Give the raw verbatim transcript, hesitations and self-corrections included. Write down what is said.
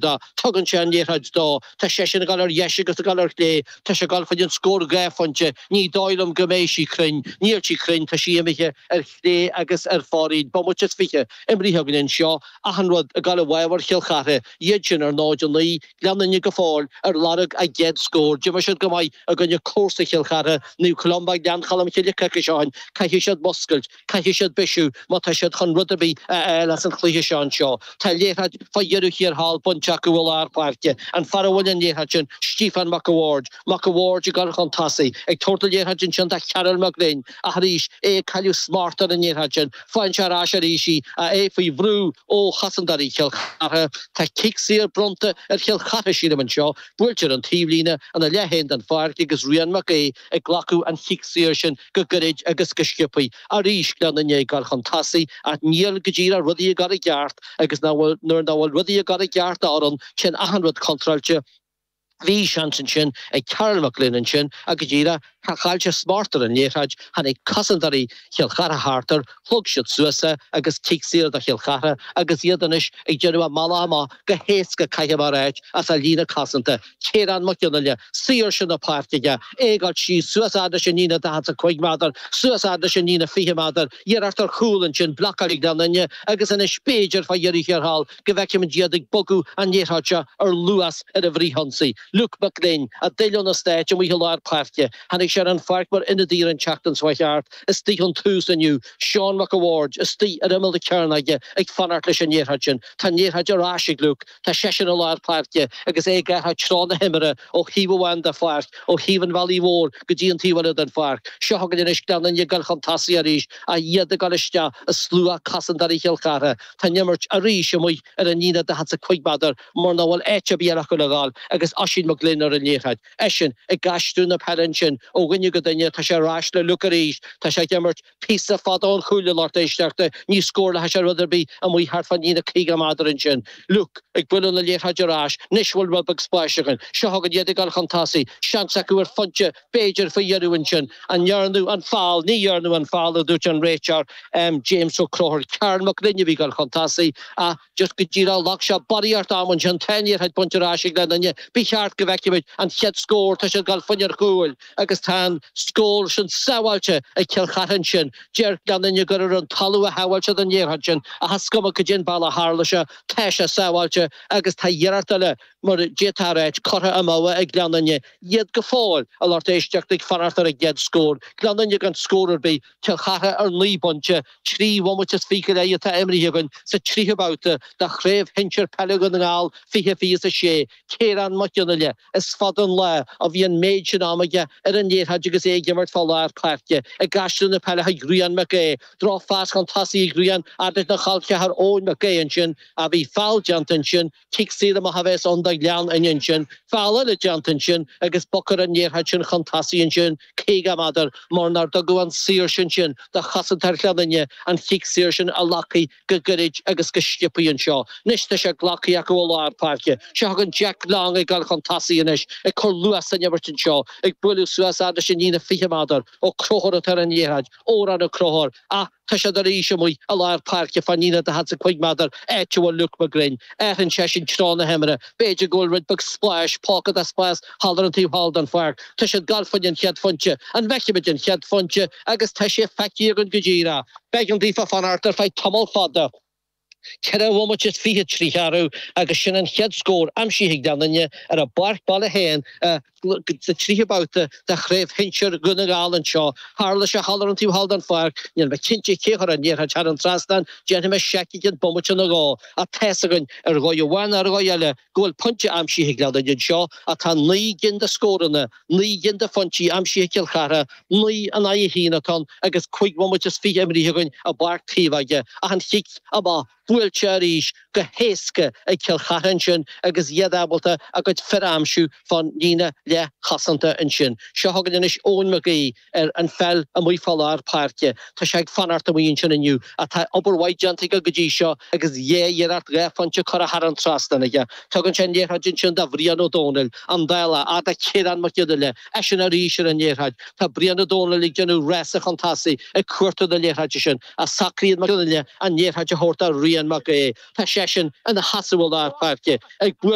dó. Tugann sé an liathróid dó. Tá seisean ag dul ar dheis agus ag dul ar chlé. Tá sé ag dul chuig an scór dhá phointe. Ní dóigh liom go mbeidh sí cruinn. Níl sí cruinn, tá sí imithe ar chlé agus ar fóraoil. Bomaite is fiche imrithe againn anseo. Achan rud ag dul i bhfabhar Chill Chartha. Iad sin ar náid a naoi, Gleann Fhinne go fóill ar lorg a gcéad scór. D'imir siad go maith i gcoinne comharsa Chill Chartha, Naomh Columba Ghleann Cholm Cille coicís ó shin. Caithfidh siad muscailt, caithfidh siad bisiú má tá siad chun rud ar bith a fháil as an chluiche seo anseo. Tá liathróid fá dheireadh thiar thall bainte acu i lár páirce. An fear a bhfuil an liathróid sin, Stiofán Mac a' Bhaird. Mac a' Bhaird ag dul chun tosaigh, ag tabhairt an liathróid ansin do Chearúil Mac Gloinn ach arís é ag cailleadh smacht ar an liathróid sin. Faigheann sé ar ais arís í, é faoi bhrú ó chosantóirí Chill Chartha. Tá cic saor bronnta ar Chill Chartha, sílim, anseo. Buailte ar an taobhlíne ina leath féin den pháirc agus Rian Mac Aoidh ag glacadh an chic saor sin go gairid agus go sciobtha. Arís Gleann Fhinne ag dul chun tosaigh ach níl go díreach rudaí ag dul i gceart agus nuair nach bhfuil rudaí ag dul i gceart d'fhoireann, téann achan rud contráilte. Bhí seans ansin ag Cearbhall Mac Gloinn ansin ach go díreach chaill sé smacht ar an liathróid, tháinig cosantóirí Chill Chartha thart air, shlog siad suas é agus cic saor do Chill Chartha agus iad anois ag déanamh a mbealach amach go héasca caithfidh mé a ráit as a líne cosanta. Ciarán Mac Fhionnaile, saoirse na páirce aige, é ag dul síos suas fhad leis an líne daichead is a cúig méadar, suas fhad leis an líne fiche méadar, iarracht ar chúl ansin, blocáil ag Gleann Fhinne agus anois b'fhéidir fá dheireadh thiar thall go bhfeicfimid iad ag bogadh an liathróid seo ar luas ar an bhfrithionsaí. Luke Mac Gloinn, a d'fhill ó na Stáit amuigh i lár páirce. Tháinig sé ar an pháirc mar ionadaí ar an tseachtain seo thart. Istigh ón tús inniu, Seán Mac a' Bhaird istigh ar imeall na cearnóige ag fanacht leis an liathróid sin. Tá an liathróid ar ais ag Luke. Tá seisean i lár páirce agus é ag athrú treo na himeartha ó thaobh amháin de pháirc, ó thaobh an bhealaigh mhóir go dtí an taobh eile den pháirc. Seo chugainn anois Gleann Fhinne ag dul chun tosaigh arís ach iad ag dul isteach i slua cosantóirí Chill Chartha. Tá an imirt arís amuigh ar an líne daichead is a cúig méadar mar nach bhfuil áit ar bith eile acu le dhul agus Oisín Mac Gloinn ar an liathróid. Eisean ag aistriú na peile ansin ó dhuine go duine, tá sé ar ais le Luke arís, tá sé ag imirt píosa fada ón chúl a lucht éisteachta, ní scórálfaidh sé rud ar bith amuigh thart fán líne caoga méadar ansin. Luke ag bualadh na liathróide ar ais, anois bhfuil rud beag spáis againn. Seo chugainn iad ag dul chun tosaigh, seans acu ar phointe b'fhéidir faoi dheireadh ansin. An ndearnadh an feall? Ní dhearnadh an feall, a dúirt an réiteoir James Ó Conchúir. Cearbhall Mac Gloinn a bhí ag dul chun tosaigh ach just go díreach ghlac sé barraíocht ama ansin. Tá an liathróid bainte ar ais ag Gleann Fhinne. Ba cheart go bhfeicfimid an chéad scór, tá siad ag dul fá choinne ar chúil agus tá an scór sin sábháilte ag Cill Chartha ansin. Deir Gleann Fhinne gur ar an talamh a shábháil siad an liathróid sin ach is cuma cad é an bealach a tharla sé, tá sé sábháilte agus tá iarracht eile, mar a d'fhéadfá a ráit, curtha amú ag Gleann Fhinne. Iad go fóill, a lucht éisteachta, ag fanacht ar a gcéad scór. Gleann Fhinne gan scór ar bith, Cill Chartha ar naoi bpointe, trí bhomaite is fiche go leith atá imrithe againn sa tríú babhta de Chraobh Shinsir Peile Dhún na nGall fiche fiche is a sé. Ciarán Mac Fhionnaile, is fada an lá ó bhí an méid sin ama aige ar an liathróid agus é ag imirt fá lár páirce, ag aistriú na peile chuig Rian Mac Aodha. Drochphas chun tosaigh ag Rian, fhad lena chol ceathar Eoin Mac Aodha ansin, ach bhí feall déanta ansin, cic saor amach a bheas ann do Ghleann Fhinne ansin, feall eile déanta ansin agus bogfar an liathróid sin chun tosaigh ansin caoga méadar mar nár tugadh an saoirse ansin do chosantóir Ghleann Fhinne an chic saor sin a ghlacadh go gairid agus go sciobtha anseo. Anois tá sé glactha acu i lár páirce. Seo chugainn Jack Long ag dul chun tosaigh anois, ag cur luas san imirt anseo, ag bualadh suas fhad leis an líne fiche méadar. Ó Conchúir atá ar an liathróid, Odhrán Ó Conchúir, ach tá siad arís amuigh i lár páirce fán líne daichead is a cúig méadar, áit a bhfuil Luke McGlynn. Athraíonn seisean treo na himeartha. B'fhéidir go bhfuil rud beag spáis, pocket de spás thall ar an taobh thall den pháirc. Tá siad ag dul fá choinne an chéad phointe. An bhfeicfimid an chéad phointe? Agus tá sé feicthe againn go díreach. B'éigean daofa fanacht ar feadh tamall fada. Ceithre bhomaite is fiche trí cheathrú agus sin an chéad scór aimsithe ag Gleann Fhinne ar a bpáirc baile féin sa tríú babhta de Chraobh Shinsir Dhún na nGall anseo. Tharla sé thall ar an taobh thall den pháirc. Níl mé cinnte cé a chuir an liathróid thar an trasnán, déanfaidh mé seic i gcionn bomaite nó dhó. Ach tá's againn ar dhóigh amháin nó ar dhóigh eile go bhfuil pointe aimsithe ag Gleann Fhinne anseo ach tá naoi gcinn de scóranna, naoi gcinn de phointí aimsithe ag Cill Chartha, naoi in aghaidh a haon atá ann agus cúig bhomaite is fiche imrithe againn i bPáirc Taobh Ach an chic amach buailte arís go héasca ag Cill Chartha ansin agus iad ábalta a gcuid fir a aimsiú fán líne leathchosanta ansin. Seo chugainn anois Eoin McGee ar an pheil amuigh fá lár páirce. Tá sé ag fanacht amuigh ansin inniu ach tá obair mhaith déanta aige go dtí seo agus dhá iarracht dhá phointe curtha thar an trasnán aige. Tugann sé an liathróid ansin do Bhrian Ó Dónaill, an dála fhad le Ciarán Mac Fhionnaile, eisean arís ar an liathróid. Tá Brian Ó Dónaill ag déanamh rása chun tosaigh ag cuartú na liathróide sin ach socraíonn Mac Fhionnaile an liathróid a thabhairt do Rian Cian Mac Aodha. Tá seisean ina sheasamh i lár páirce ag bualadh